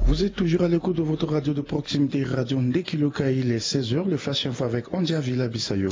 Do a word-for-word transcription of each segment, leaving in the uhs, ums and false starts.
Vous êtes toujours à l'écoute de votre radio de proximité, Radio Ndekiluka. Il est seize heures, le Flash Info avec Andy Avila Bissayo.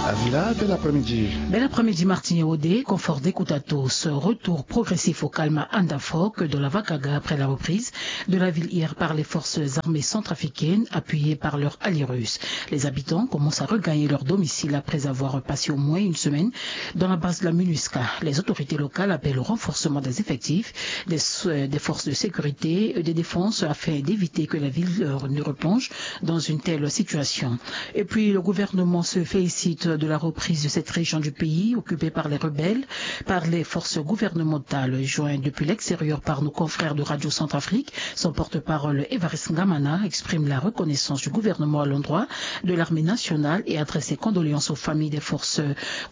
Avila, bel après-midi. Bel après-midi, Martin Odé. Confort d'écoute à tous. Retour progressif au calme à Ndafok, dans la Vakaga, après la reprise de la ville hier par les forces armées centrafricaines, appuyées par leurs alliés russes. Les habitants commencent à regagner leur domicile après avoir passé au moins une semaine dans la base de la MINUSCA. Les autorités locales appellent au renforcement des effectifs, des, euh, des forces de sécurité et de défense afin d'éviter que la ville, euh, ne replonge dans une telle situation. Et puis, le gouvernement se félicite de la reprise de cette région du pays occupée par les rebelles, par les forces gouvernementales. Joint depuis l'extérieur par nos confrères de Radio Centrafrique, son porte-parole Évariste Ngamana exprime la reconnaissance du gouvernement à l'endroit de l'armée nationale et adresse ses condoléances aux familles des forces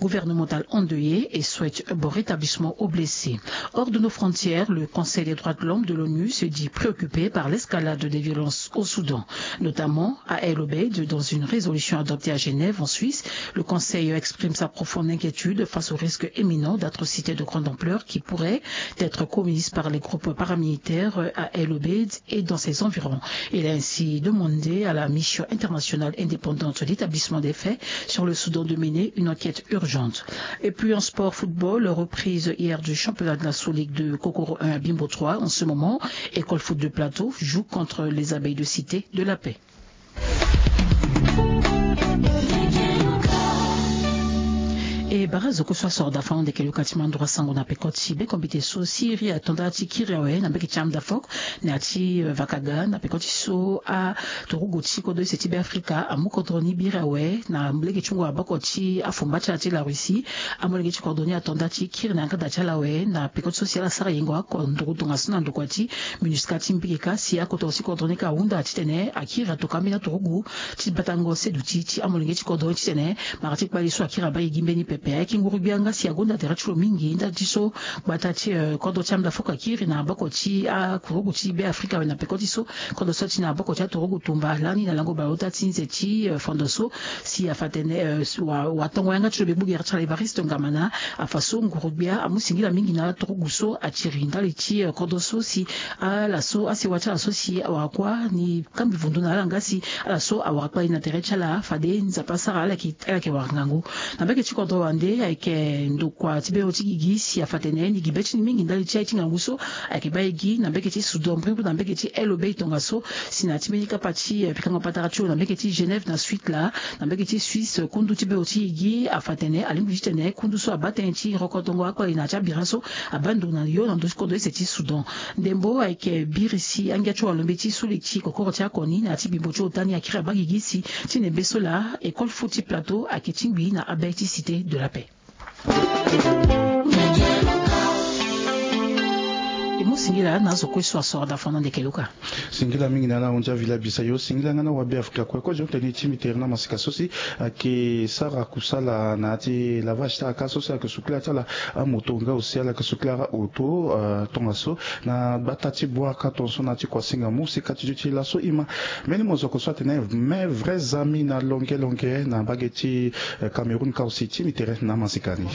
gouvernementales endeuillées et souhaite un bon rétablissement aux blessés. Hors de nos frontières, le Conseil des droits de l'homme de l'ONU se dit préoccupé par l'escalade des violences au Soudan, notamment à El Obeid. Dans une résolution adoptée à Genève, en Suisse, le Conseil exprime sa profonde inquiétude face au risque imminent d'atrocités de grande ampleur qui pourraient être commises par les groupes paramilitaires à El Obeid et dans ses environs. Il a ainsi demandé à la mission internationale indépendante d'établissement des faits sur le Soudan de mener une enquête urgente. Et puis en sport football, reprise hier du championnat de la Sous-Ligue de Kokoro un à Bimbo trois. En ce moment, École Foot de Plateau joue contre les Abeilles de Cité de la Paix. E bara zo kue so asoro da fango ndeke luka ti mandro asango na peko ti bekombite so siri ato nda ti kiri awe na mbeke ti amda fok na ya ti, eh, vakaga na peko ti so aturugu ti kodro use ti Beafrika amu kodro ni biri awe na lege ti hungu aboko ti afumba ti ala ti la Russie. Amolenge ti kodro ni ato nda ti kiri na yanga da ti ala awe na peko ti so si ala sara yengo ako nduru tongaso na ndokua ti MINUSCA ti mbiki ka si akotoro ti kodro ni ka ahunda titene akiri atokua ambeni aturugu ti batango seduti ti amolenge ti kodro ni titene mara ti kpali so akiri abaa e gi mbeni pepe. Ayeke nguru gbia nga si agonda tere ti lo mingi nda ti so gbata ti, eh, kodro ti amda fok akiri na aboko ti akurugu ti Beafrika awe na peko ti so kodro so ti na aboko ti aturugu tumba lani na lango bale ota ti nze ti, eh, fondo so si afa tene, eh, wa, watongo yanga ti lo be gbu gere ti ala Evariste Ngamana. Afa so nguru gbia amu singila mingi na aturugu so atiri ndali ti, eh, kodro so si ala so asewa ti ala so si awara kuâ ni kambi vundu na ala nga si ala so awara kpali na tere ti ala fade Nzapa asara ala yeke, ala yeke wara ngangu. Na mbeke ti kodro wande ayeke ndokua ti bero ti gigi si afa tene ni gi be ti ni mingi ndali ti aye ti ngangu so ayeke baa e gi na mbeke ti Soudan mbrimbri na mbeke ti El Obeid tongaso si na ya ti mbeni kapa ti, eh, pikango patara ti lo na mbeke ti Genève na Suisse laa. Na mbeke ti Suisse kundu ti bero ti gigi afa tene alingbi titene kundu so abaa tënë ti rokotongo akpali na ya ti abira so abaa ndo na yo na ndö ti kodro use ti Soudan. Ndembo ayeke biri si angia ti walombe ti suli ti kokoro ti akoni na ya ti bimbo ti ota ni akiri abaa gigi si ti nembe so laa école foot ti Plateau ayeke tingbi na abe ti Cité de la Paix. E mu singila na azo kue so asoro da fana ndeke luka. Singila mingi na ala ahunzi avila bisa yo. Singila nga na wabe Afrika kue kozo tene ti mbi tere na masika so si ayeke sara kusala na ya ti lavage ti ala ka so si ayeke sukula ti ala amoto nga aussi ala yeke sukula auto, euh, tongaso na gbata ti Bouakata tongaso na ya ti Kouassinga mu si ka ti dio ti laso e ma. Mbeni mozoko so atene mais vrais amis na longue longue na mbage ti, euh, Cameroun ka aussi ti mbi tere na masika ni.